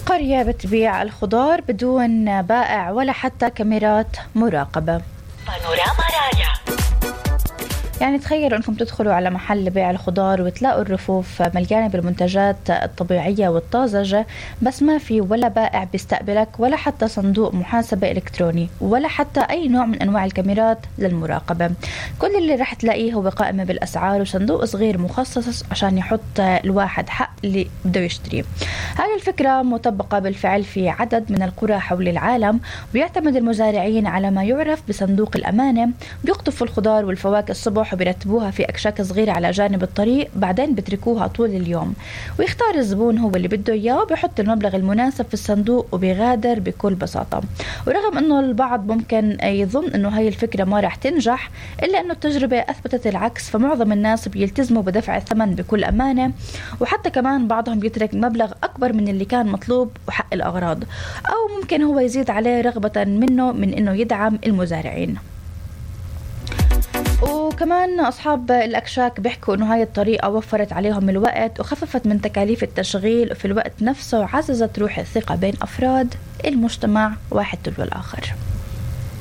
قرية بتبيع الخضار بدون بائع ولا حتى كاميرات مراقبة. بانوراما رايا. يعني تخيلوا أنكم تدخلوا على محل بيع الخضار وتلاقوا الرفوف مليانة بالمنتجات الطبيعية والطازجة، بس ما في ولا بائع بيستقبلك ولا حتى صندوق محاسبة إلكتروني ولا حتى أي نوع من أنواع الكاميرات للمراقبة. كل اللي رح تلاقيه هو قائمة بالأسعار وصندوق صغير مخصص عشان يحط الواحد حق اللي بده يشتريه. هذه الفكرة مطبقة بالفعل في عدد من القرى حول العالم، ويعتمد المزارعين على ما يعرف بصندوق الأمانة. بيقطفوا الخضار والفواكه الصبح وبيرتبوها في أكشاك صغيرة على جانب الطريق، بعدين بتركوها طول اليوم ويختار الزبون هو اللي بده إياه وبيحط المبلغ المناسب في الصندوق وبيغادر بكل بساطة. ورغم أنه البعض ممكن يظن أنه هاي الفكرة ما رح تنجح، إلا أنه التجربة أثبتت العكس، فمعظم الناس بيلتزموا بدفع الثمن بكل أمانة، وحتى كمان بعضهم بيترك مبلغ أكبر من اللي كان مطلوب وحق الأغراض، أو ممكن هو يزيد عليه رغبة منه من أنه يدعم المزارعين. وكمان أصحاب الأكشاك بيحكوا أنه هاي الطريقة وفرت عليهم الوقت وخففت من تكاليف التشغيل، وفي الوقت نفسه عززت روح الثقة بين أفراد المجتمع واحد تلو الآخر.